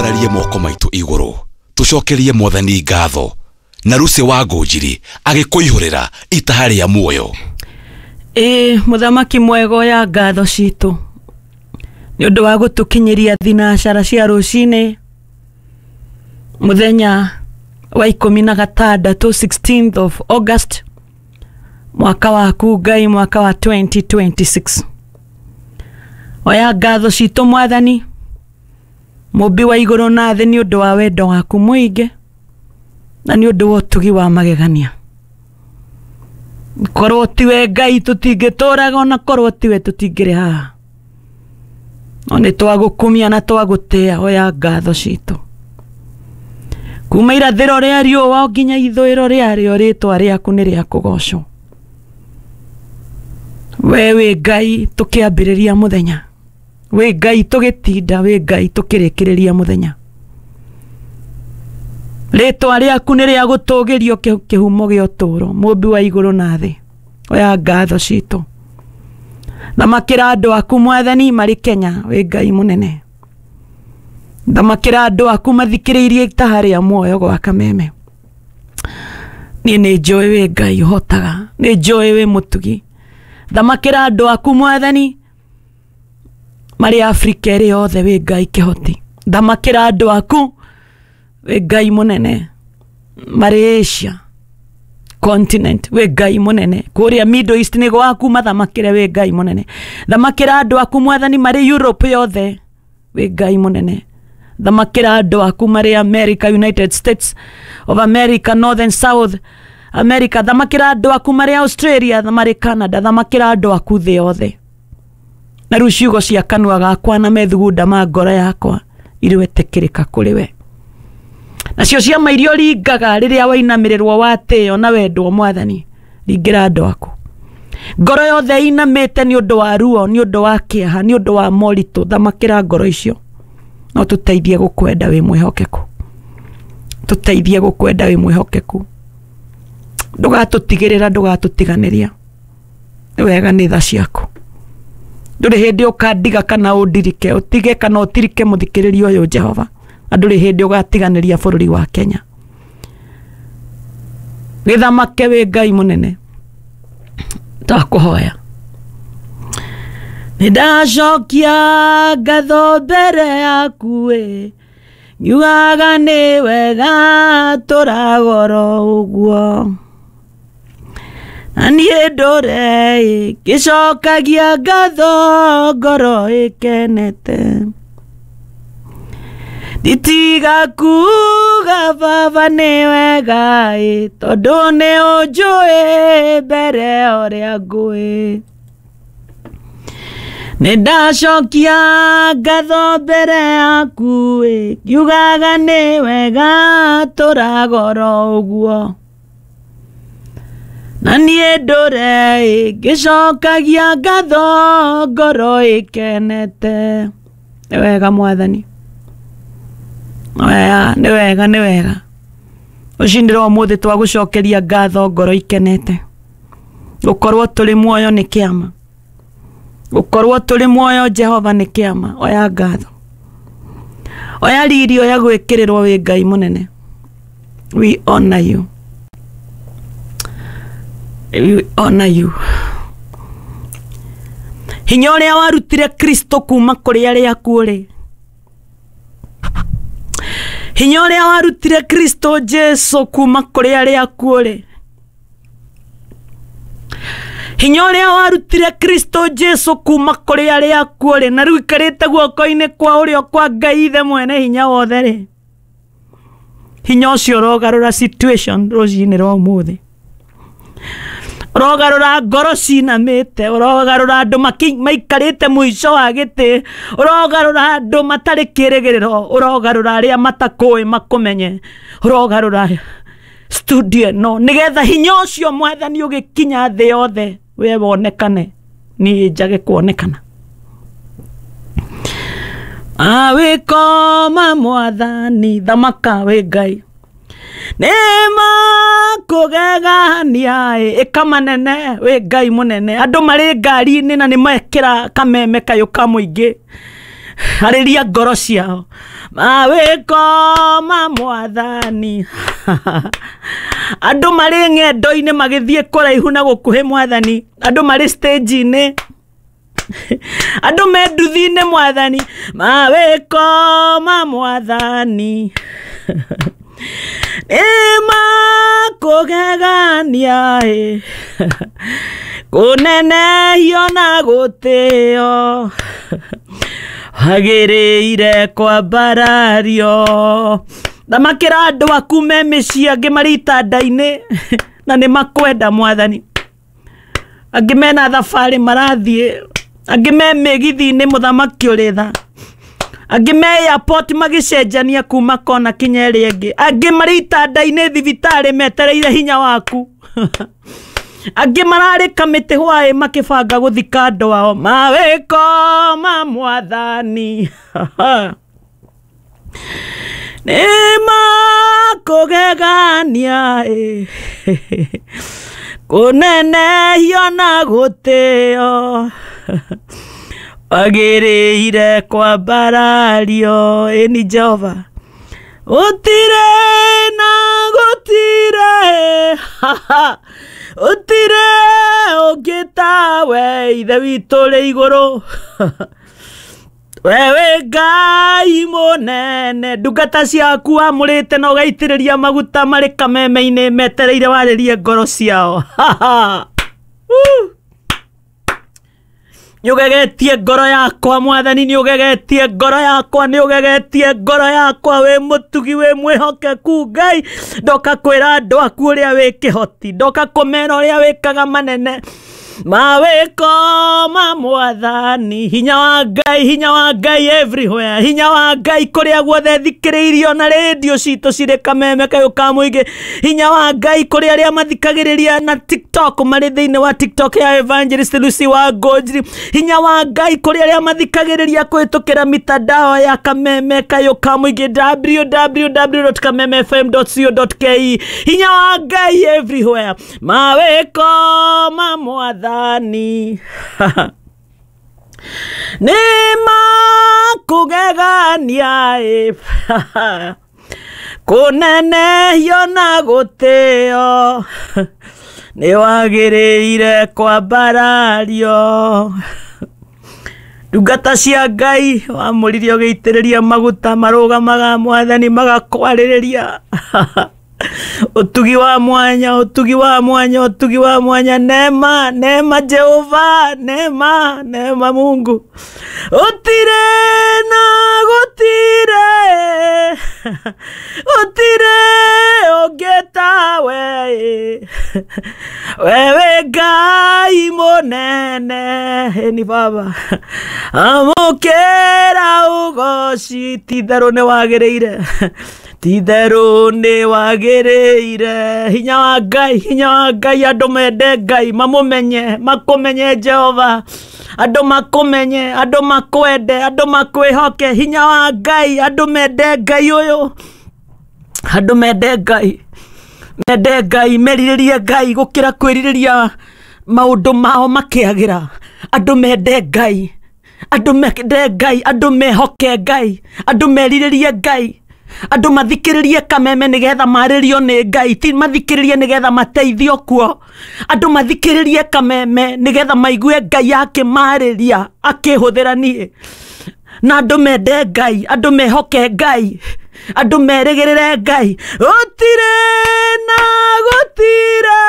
Twambararie moko maitũ igũrũ tũcokerie Mwathani ngatho na Lucy wa Ngũnjiri agĩkũihũrĩra itaha rĩa muoyo. Ĩĩ mũthamaki mwega oya ngatho citũ nĩ ũndũ wa gũtũkinyĩria thinacara cia rũcinĩ mũthenya wa 16 16th of August mwaka waku Ngai, mwaka wa 2026. Oya ngatho citũ Mwathani mũmbi wa igũrũ na thĩ nĩ ũndũ wa wendo waku mũingĩ na nĩ ũndũ wa ũtugi wa magegania. Korwo tiwe Ngai tũtingĩtũraga, ona korwo tiwe tũtingĩrĩ haha, no nĩ twagũkumia na twagũtĩa. Oya ngatho citũ kuma irathĩro rĩa riũa nginya ithũĩro rĩarĩo, rĩtwa rĩaku nĩ rĩa kũgocwo. We wĩ Ngai tũkĩambĩrĩria mũthenya, wĩ Ngai tũgĩtinda, wĩ Ngai tũkĩrĩkĩrĩria mũthenya. Rĩtwa rĩaku nĩ rĩa gũtũgĩrio kĩhumo gĩa ũtũũro, mũmbi wa igũrũ na thĩ. Oya ngatho citũ. Thamakĩra andũ aku Mwathani marĩ Kenya, wĩ Ngai mũnene. Thamakĩra andũ aku mathikĩrĩirie itaha rĩa muoyo gwa Kameme. Niĩ nĩ njũĩ wĩ Ngai ũhotaga, nĩ njũĩ wĩ mũtugi. Thamakĩra andũ aku Mwathani marĩ Afrika ĩrĩ yothe, wĩ Ngai kĩhoti. Thamakĩra andũ aku wĩ Ngai mũnene marĩ Asia continent, wĩ Ngai mũnene. Kũrĩa Middle East nĩ gwaku, mathamakĩre wĩ Ngai mũnene. Thamakĩra andũ aku Mwathani marĩ Europe yothe, wĩ Ngai mũnene. Thamakĩra andũ aku marĩ America, United States of America, North and South America. Thamakĩra andũ aku marĩ Australia, marĩ Canada. Thamakĩra andũ aku thĩ yothe. Na rĩu ciugo cia kanua gakwa na methugunda ma ngoro yakwa irwetĩkĩrĩka kũrĩ we. Nacio ciama iria ũringaga rĩrĩa wainamĩrĩrwo watĩo na wendwo Mwathani, ringĩra andũ aku. Ngoro yothe inamĩte nĩ ũndũ wa ruo, nĩ ũndũ wa kĩeha, nĩ ũndũ wa moritũ, thamakĩra ngoro icio. No tũteithie gũkwenda wĩ mwĩhokeku, tũteithie gũkwenda wĩ mwĩhokeku. Ndũgatũtigĩrĩra, ndũgatũtiganĩria. Nĩ wega nĩ tha ciaku. Ndũrĩ hĩndĩ ũkandiga kana ũndirike, ũtige kana ũtirike mũthikĩrĩria ũyũ Jehova, na ndũrĩ hĩndĩ ũgatiganĩria bũrũri wa Kenya. Gĩthamake wĩ Ngai mũnene, twakũhoya. Nĩ ndacokia ngatho mbere yaku ĩ, ngiugaga nĩ wega tũragoro ũguo. Na niĩ ndũre ĩ, ngĩcokagia ngatho ngoro ĩkenete. Nditiga kuga baba nĩ wega ĩ, tondũ nĩ ũnjũĩ mbere ũrĩa ngũĩ. Nĩ ndacokia ngatho mbere yaku ĩ, ngiugaga nĩ wega tũragoro ũguo. Na niĩ ndũre ĩ, ngĩcokagia ngatho ngoro ĩkenete. Nĩ wega Mwathani, nĩ wega, nĩ wega. Rũcinĩ rwa ũmũthĩ twagũcokeria ngatho ngoro ikenete. Gũkorwo tũrĩ muoyo nĩ kĩama, gũkorwo tũrĩ muoyo Jehova nĩ kĩama. Oya ngatho, oya riri, oya gwĩkĩrĩrwo wĩ Ngai mũnene. We honor you, we honor you. Hinya ũrĩa warutire Kristo kuma kũrĩ arĩa akuũ rĩ, hinya ũrĩa warutire Kristo Jesu kuma kũrĩ arĩa akuũ rĩ, hinya ũrĩa warutire Kristo Jesu kuma kũrĩ arĩa akuũ rĩ, na rĩu ikarĩte guoko-inĩ kwa ũrĩo kwa Ngai Ithe mwene hinya wothe rĩ, hinya ũcio ũrogarũra situation rũcinĩ rwa ũmũthĩ, ũrogarũra ngoro cinamĩte, ũrogarũra andũ maikarĩte mũico wa gĩtĩ, ũrogarũra andũ matarĩ kĩrĩgĩrĩro, ũrogarũra arĩa matakũĩ makũmenye, ũrogarũra studio ĩno nĩgetha hinya ũcio Mwathani ũgĩkinya thĩ yothe we wonekane, niĩ njage kuonekana. Awĩkoma Mwathani, thamaka wĩ Ngai, nĩ makũgegania ĩka manene wĩ Ngai mũnene. Andũ marĩ ngari-inĩ na nĩ mekĩra kameme kayũ ka mũingĩ. Arĩria ngoro ciao. Mawĩko ma mwathani. Andũ marĩ ng'endo-inĩ magĩthiĩ kũraihu na gũkuhĩ mwathani. Andũ marĩ stage-inĩ. Andũ me nduthi-inĩ mwathani. Mawĩko ma mwathani. Nĩ makũgegania ĩ. Kũnenehio na gũtĩo. Wagĩrĩire kwambarario. Thamakĩra andũ aku me mĩciĩ, angĩ marĩ itanda-inĩ na nĩ makwenda mwathani. Angĩ mena thabarĩ marathiĩ, angĩ me mĩgithi-inĩ mũthamaki ũrĩ tha. Angĩ me airport magĩcenjania kuma kona kinya ĩrĩa ĩngĩ. Angĩ marĩ itanda-inĩ thibitarĩ metereire hinya waku. Angĩ mararĩ kamĩtĩ hwaĩ makĩbanga gũthika andũ ao. Mawĩko ma mwathani. Nĩ makũgegania ĩ. Kũnenehio na gũtĩo. Wagĩrĩire kwambarario. Ĩni Jehova. Gũtirĩ na gũtirĩ. Gũtirĩ ũngĩ tawe Ithe witũ ũrĩ igũrũ. We wĩ Ngai mũnene. Ndungata ciaku wamũrĩte na ũgaitĩrĩria maguta marĩ kameme-inĩ metereire warĩrie ngoro ciao. Nĩ ũgegetie ngoro yakwa mwathani, nĩ ũgegetie ngoro yakwa, nĩ ũgegetie ngoro yakwa. Wĩ mũtugi, wĩ mwĩhokeku Ngai. Ndoka kwĩra andũ aku ũrĩa wĩ kĩhoti, ndoka kũmera ũrĩa wĩkaga manene. Mawĩko ma mwathani. Hinya wa Ngai, hinya wa Ngai everywhere. Hinya wa Ngai kũrĩa guothe thikĩrĩirio na rĩndiũ citũ cirĩ kameme kayũ ka mũingĩ. Hinya wa Ngai kũrĩ arĩa mathikagĩrĩria na TikTok marĩ thĩinĩ wa TikTok ya Evangelist Lucy wa Ngũnjiri. Hinya wa Ngai kũrĩ arĩa mathikagĩrĩria kũhĩtũkĩra mitandao ya kameme kayũ ka mũingĩ www.kamemefm.co.ke. Hinya wa Ngai everywhere. Mawĩko ma mwathani. Nĩ makũgegania ĩ. Kũnenehio na gũtĩo. Nĩ wagĩrĩire kwambarario. Ndungata cia Ngai wamũrire ũgĩitĩrĩria maguta marũgamaga mwathani magakwarĩrĩria. Ũtugi wa mwanya, ũtugi wa mwanya, ũtugi wa mwanya. Neema, neema Jehova, neema, neema Mungu. Gũtirĩ na gũtirĩ. Gũtirĩ ũngĩ tawe. We wĩ Ngai mũnene. Ĩni Baba. Amũkĩra ũgoci. Ti-itherũ nĩ wagĩrĩire. Ti-itherũ nĩ wagĩrĩire. Hinya wa Ngai, hinya wa Ngai. Andũ mende Ngai, mamũmenye, makũmenye Jehova. Andũ makũmenye, andũ makwende, andũ makwĩhoke. Hinya wa Ngai, andũ mende Ngai ũyũ. Andũ mende Ngai. Mende Ngai, merirĩrie Ngai gũkĩra kwĩrirĩria maũndũ mao makĩagĩra. Andũ mende Ngai. Andũ mende Ngai, andũ mehoke Ngai, andũ merirĩrie Ngai. Andũ mathikĩrĩrie kameme nĩgetha marĩrio nĩ Ngai, ti mathikĩrĩrie nĩgetha mateithio kuo. Andũ mathikĩrĩrie kameme nĩgetha maigue Ngai akĩmarĩria akĩhũthĩra niĩ. Na andũ mende Ngai, andũ mehoke Ngai, andũ merĩgĩrĩre Ngai. Gũtirĩ na gũtirĩ.